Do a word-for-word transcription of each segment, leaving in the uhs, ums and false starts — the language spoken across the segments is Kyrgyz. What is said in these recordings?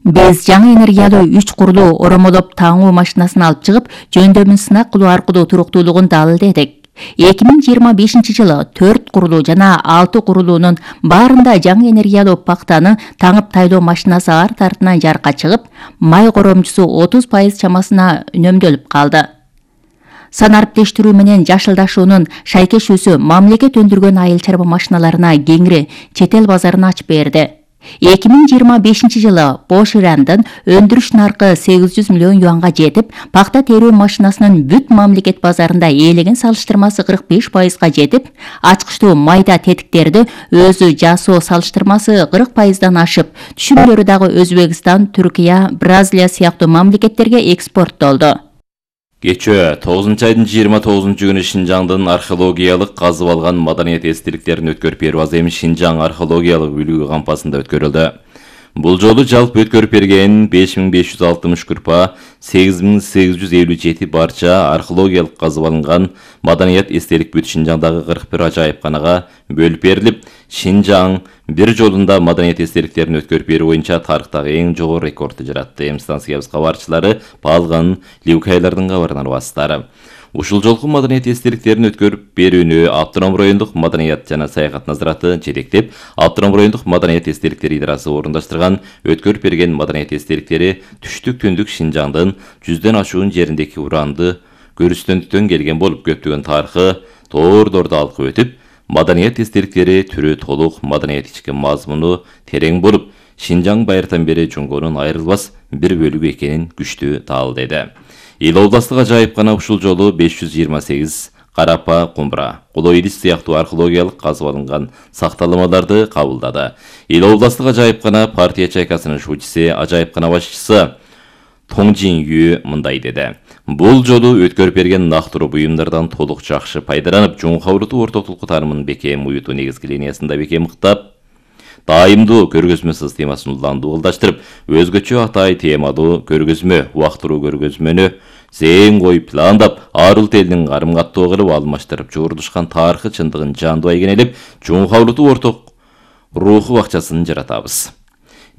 Биз жаңы энергиялуу үч курулуу оромолоп таңуу машинасын алып чыгып, жөндөмүн сынак кылуу аркылуу туруктуулугун далилдедик. эки миң жыйырма бешинчи жылы төрт курулуу жана алты курулуунун баарында жаңы энергиялуу пактаны таңып тайлоо машинасы арт артынан жарыкка чыгып, май коромчусу отуз пайыз чамасына үнөмдөлүп калды. Санариптештирүү менен жашылдашуунун шайкешүүсү мамлекет өндүргөн айыл чарба машиналарына кеңири чет эл базарын ачып берди. эки миң жыйырма бешинчи жылы Бош Ирандын өндүрүш наркы сегиз жүз миллион юанга жетип, пакта терүү машинасынын бүт мамлекет базарында ээлеген салыштырмасы кырк беш пайызга жетип, ачкычтуу майда тетиктерди өзү жасоо салыштырмасы кырк пайыздан ашып, түшүмдөрү дагы Өзбекстан, Түркия, Бразилия сыяктуу мамлекеттерге экспорттолду. Кечээ тогузунчу айдын жыйырма тогузунчу күнү Шинжаңдын археологиялык казып алган маданият эстеликтерин өткөрүп берүү азем Шинжаң археологиялык үлгү кампасында өткөрүлдү. Бул жолу жалпы өткөрүп берген беш миң беш жүз алтымыш күрпа, сегиз миң сегиз жүз элүү жети барча археологиялык казып алынган маданият эстелик бүт Шинжаңдагы кырк бир ажайыпканага бөлүп берилип, Шинжаң бир жолунда маданият эстеликтерин өткөрүп берүү боюнча тарыхтагы эң жогору рекордду жаратты. Эми станциябыз кабарчылары Палган, Ливкайлардын кабарынан убасыздар. Ушул жолку маданият эстеликтерин өткөрүп берүүнү Автоном райондук маданият жана саякат назараты жетектеп, Автоном райондук маданият эстеликтери идарасы орундаштырган өткөрүп берген маданият эстеликтери түштүк түндүк Шинжаңдын жүздөн ашуун жериндеки уранды көрүстөндүктөн келген болуп, көптөгөн тарыхы тоордорду алкып өтүп, маданият эстеликтери түрү толук, маданият ички мазмуну терең болуп, Шинжаң байыртан бери Жоңгонун айрылбас бир бөлүгү экенин күчтүү таалдады. Эл областык ажайыпкана ушул жолу беш жүз жыйырма сегиз карапа кумбра, коло идис сыяктуу археологиялык казып алынган сакталмаларды кабылдады. Эл областык ажайыпкана партия чайкасынын шуучусы, ажайыпкана башчысы Тоңжин Ю мындай деди. Бул жолу өткөрүп берген нактуруу буюмдардан толук жакшы пайдаланып, жоңкаулуу ортотулку таанымын бекем уютуу негизги линиясында бекем ыктап, дайымдуу көргөзмө системасын уландуу ылдаштырып, өзгөчө атай темалуу көргөзмө, убактылуу көргөзмөнү зээн коюп пландап, ар улут элдин карым-каттоо кылып алмаштырып, жуурдушкан тарыхы чындыгын жандуу айгинелеп, жоңкаулуу орток руху бакчасын жаратабыз.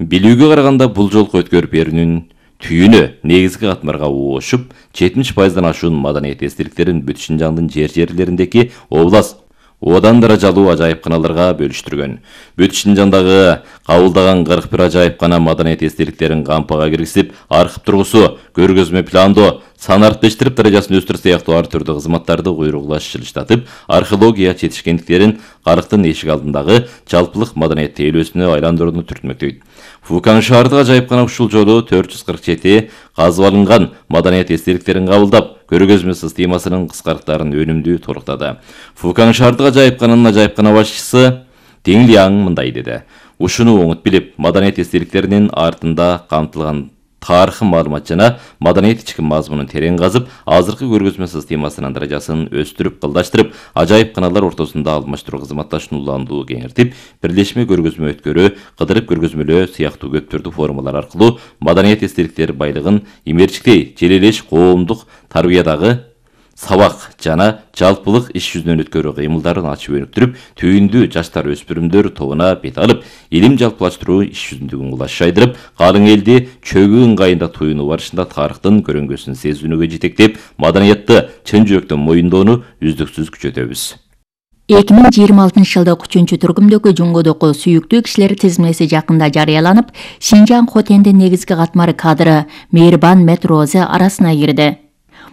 Билүүгө караганда бул жолку өткөрүп берүүнүн түйүнү негизги катмарга уушуп, жетимиш пайыздан ашуун маданият эстеликтерин бүт Шинжаңдын жер-жерлериндеки област одан даражалуу ажайыпканаларга бөлүштүргөн. Бүт Шинжаңдагы кабылдаган кырк бир ажайыпкана маданият эстеликтерин кампага киргизип, архив тургусу, көргөзмө пландоо, санариптештирип даражасын өстүрүү сыяктуу ар түрдүү кызматтарды куйругулаш жылыштатып, археология жетишкендиктерин карыктын эшик алдындагы жалпылык маданият тейлөөсүнө айландырууну түртмөктөйт. Фукан шаардык ажайыпкана ушул жолу төрт жүз кырк жети казып алынган маданият эстеликтерин кабылдап, көргөзмө системасынын кыскарыктарын өнүмдүү толуктады. Фукан шаардык ажайыпкананын ажайыпкана башчысы Теңлияң мындай деди. Ушуну оңут билип, маданият эстеликтеринин артында камтылган тарыхы маалымат жана маданият ички мазмунун терең казып, азыркы көргөзмө системасынын даражасын өстүрүп, кылдаштырып, ажайыпканалар ортосунда алмаштыруу кызматташууну уландуу кеңиртип, бирлешме көргөзмө өткөрүү, кыдырып көргөзмөлөө сыяктуу көп түрдүү формалар аркылуу маданият эстеликтер байлыгын имерчиктей желелеш коомдук тарбиядагы сабак жана жалпылык иш жүзүнөн өткөрүү кыймылдарын ачып өнүктүрүп, түйүндүү жаштар өспүрүмдөр тобуна бет алып, илим жалпылаштыруу иш жүзүндөгүн кулаш жайдырып, калың элди чөгүү ыңгайында туюнуу барышында тарыхтын көрөңгөсүн сезүүнүгө жетектеп, маданиятты чын жүрөктөн моюндоону үздүксүз күчөтөбүз. эки миң жыйырма алтынчы жылдык үчүнчү тургумдөгү Жоңгодогу сүйүктүү кишилер тизмеси жакында жарыяланып, Шинжаң Хотендин негизги катмары кадры Мейирбан Метрозе арасына кирди.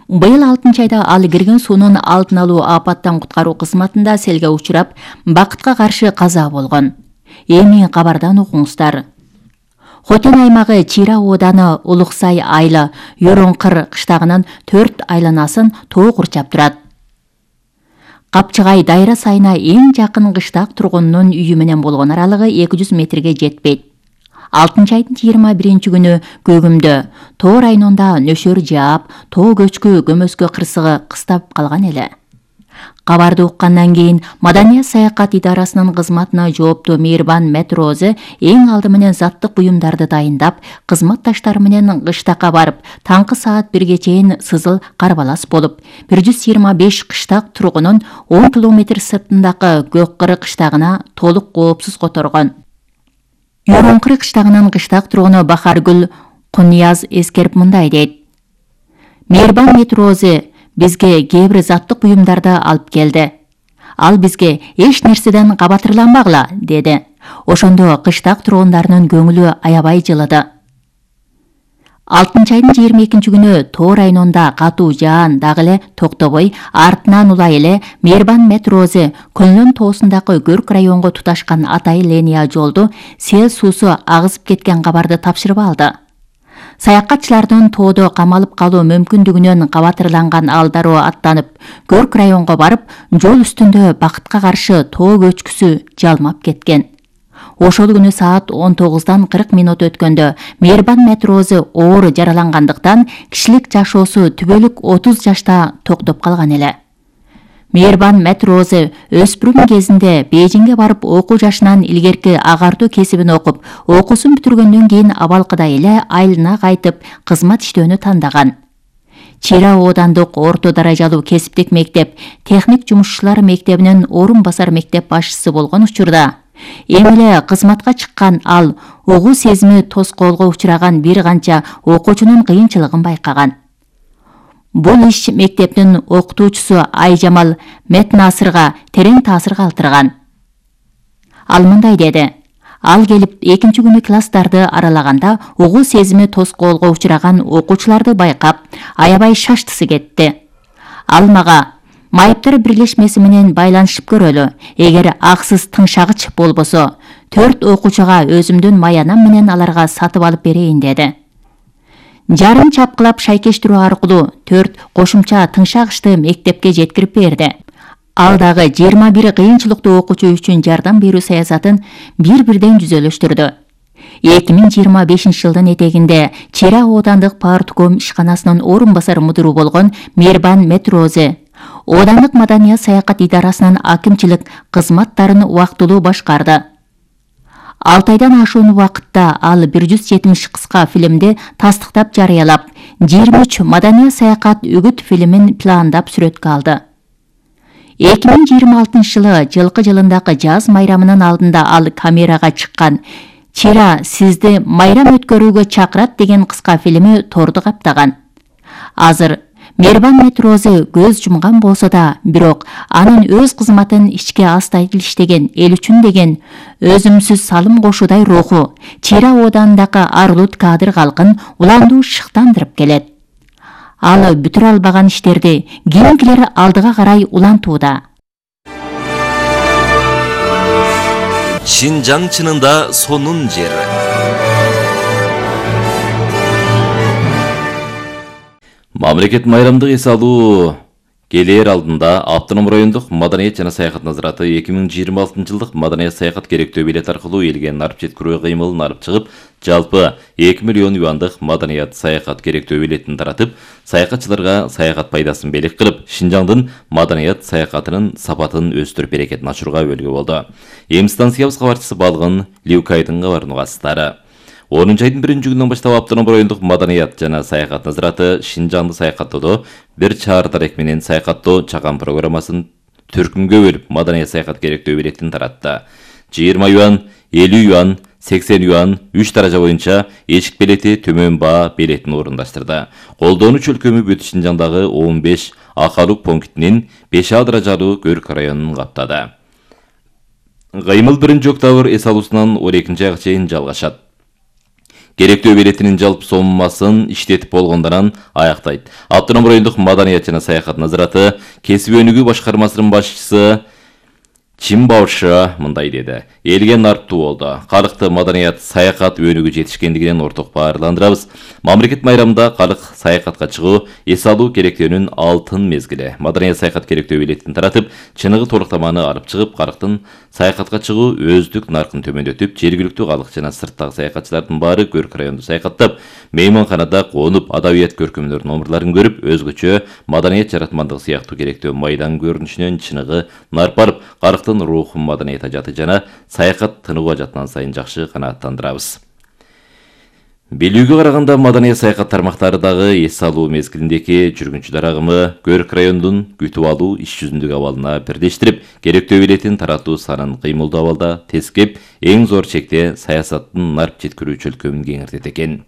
Быйыл алтынчы айда ал кирген суунун алдын алуу апаттан куткаруу кызматында селге учурап, бакытка каршы каза болгон. Эми кабардан окуңуздар. Хотен аймагы Чира ооданы Улуксай айылы Йороңкыр кыштагынын төрт айланасын тоо курчап турат. Капчыгай дайра сайына эң жакын кыштак тургунунун үйү менен болгон аралыгы эки жүз метрге жетпейт. алтынчы айдын жыйырма биринчи күнү көгүмдө тоо районунда нөшөр жаап, тоо көчкү көмөскө кырсыгы кыстап калган эле. Кабарды уккандан кийин Маданият саякат идарасынын кызматына жооптуу Мейирбан Метрозе эң алды менен заттык буюмдарды дайындап, кызматташтары менен кыштакка барып, таңкы саат бирге чейин сызыл карбалас болуп, бир жүз жыйырма беш кыштак тургунун он километр сыртындагы Көк Кыры кыштагына толук коопсуз которгон. Юрункыры кыштагынын кыштак тургуну Бахаргүл Кунияз эскерип мындай дейт. Мейирбан метрози бизге кээ бир заттык буюмдарды алып келди. Ал бизге эч нерседен кабатырланбагыла, деди. Ошондо кыштак тургундарынын көңүлү аябай жылыды. алтынчы айдын жыйырма экинчи күнү Тоо районунда катуу жаан дагы эле токтобой, артынан улай эле Мейирбан метрози Көнлөн тоосундагы Көрк районго туташкан Атай линия жолду сел суусу агызып кеткен кабарды тапшырып алды. Саякатчылардын тоодо камалып калуу мүмкүндүгүнөн кабатырланган ал дароо аттанып, Көрк районго барып, жол үстүндө бакытка каршы тоо көчкүсү жалмап кеткен. Ошол күнү саат он тогуздан кырк минут өткөндө Мейирбан метрози оор жаралангандыктан кишилик жашоосу түбөлүк отуз жашта токтоп калган эле. Мейирбан метрози өспүрүм кезинде Бейжиңге барып окуу жашынан илгерки агартуу кесибин окуп, окуусун бүтүргөндөн кийин абалкыдай эле айылына кайтып кызмат иштөөнү тандаган. Чира оодандык орто даражалуу кесиптик мектеп, техник жумушчулар мектебинин орун басар мектеп башчысы болгон учурда эми эле кызматка чыккан ал угуу сезими тоскоолго учураган бир канча окуучунун кыйынчылыгын байкаган. Бул иш мектептин окутуучусу Айжамал Метнасырга терең таасир калтырган. Ал мындай деди. Ал келип экинчи күнү класстарды аралаганда угуу сезими тоскоолго учураган окуучуларды байкап, аябай шаштысы кетти. Ал мага майыптар бирлешмеси менен байланышып көрөлү. Эгер аксыз тыңшагыч болбосо, төрт окуучуга өзүмдүн маянам менен аларга сатып алып берейин, деди. Жарым чапкылап шайкештирүү аркылуу төрт кошумча тыңшагычты мектепке жеткирип берди. Ал дагы жыйырма бир кыйынчылыктуу окуучу үчүн жардам берүү саясатын бир-бирден жүзөлөштүрдү. эки миң жыйырма бешинчи жылдын этегинде Чира оодандык партком ишканасынын орун басар мудиру болгон Мейирбан метрози оодандык маданият саякат идарасынын акимчилик кызматтарын убактылуу башкарды. алты айдан ашуун убакытта ал бир жүз жетимиш кыска фильмди тастыктап жарыялап, жыйырма үч маданият саякат үгүт фильмин пландап сүрөткө алды. эки миң жыйырма алтынчы жылы жылкы жылындагы жаз майрамынын алдында ал камерага чыккан «Чира сизди майрам өткөрүүгө чакырат» деген кыска фильми торду каптаган. Азыр Мейирбан метрози көз жумган болсо да, бирок анын өз кызматын ичке астайыл иштеген эл үчүн деген өзүмсүз салым кошуудай руху Чира оодандагы арлут кадыр калкын уландуу шыктандырып келет. Ал бүтүрө албаган иштерди кийинкилер алдыга карай улантууда. Шинжаң чынында сонун жер. Мамлекет майрамдык эс алуу келер алдында Автоном райондук маданият жана саякат назараты эки миң жыйырма алтынчы жылдык маданият саякат керектөө билет аркылуу элге нарып жеткирүү кыймылын алып чыгып, жалпы эки миллион юандык маданият саякат керектөө билетин таратып, саякатчыларга саякат пайдасын белек кылып, Шинжаңдын маданият саякатынын сапатын өстүрүп берекетин ачууга өбөлгө болду. Эми станциябыз кабарчысы Балгын Лиукайдын кабарын угасыздары. онунчу айдын биринчи күнүнөн баштап Автоном райондук маданият жана саякат назараты Шинжаңды саякаттоодо бир чаар дарек менен саякаттоо чаган программасын төркүмгө бөлүп маданият саякат керектөө билетин таратты. жыйырма юан, элүү юан, сексен юан, үч даража боюнча эшик билети төмөн баа билетин орундаштырды. Колдонуучу өлкөмү Бүт Шинжаңдагы он беш акалык пунктинин беш А даражалуу Көрк районун каптады. Кыймыл биринчи октябрь эс алуусунан он экинчи айга чейин жалгашат. Керектөө билетинин жалпы соммасын иштетип болгондон аяктайт. Автоном райондук маданият жана саякат назараты кесип өнүгүү башкармасынын башчысы Чимбаушы мындай деди. Элге нарптуу болду. Калыкты маданият саякат өнүгүү жетишкендигинен орток баарландырабыз. Мамлекет майрамында калык саякатка чыгуу эс алуу керектөөнүн алтын мезгили. Маданият саякат керектөө билетин таратып, чыныгы толуктаманы алып чыгып, калыктын саякатка чыгуу өздүк наркын төмөндөтүп, жергиликтүү калык жана сырттагы саякатчылардын баары Көрк районунда саякаттап, мейманканада конуп, адабият көркөмдөр номерларын көрүп, өзгөчө маданият жаратмандыгы сыяктуу керектөө майдан көрүнүшүнөн чыныгы нарп барып, калыктын рухун маданият ажаты жана саякат тынуу ажатынан сайын жакшы канааттандырабыз. Белүүгө караганда маданият саякат тармактары дагы эс алуу мезгилиндеги жүргүнчүлөр агымы Көрк районунун күтүп алуу иш жүзүндөгү абалына бирдештирип, керектөө билетин таратуу санын кыймылдуу абалда тескеп, эң зор чекте саясаттын нарп жеткирүү чөлкөмүн кеңиртет экен.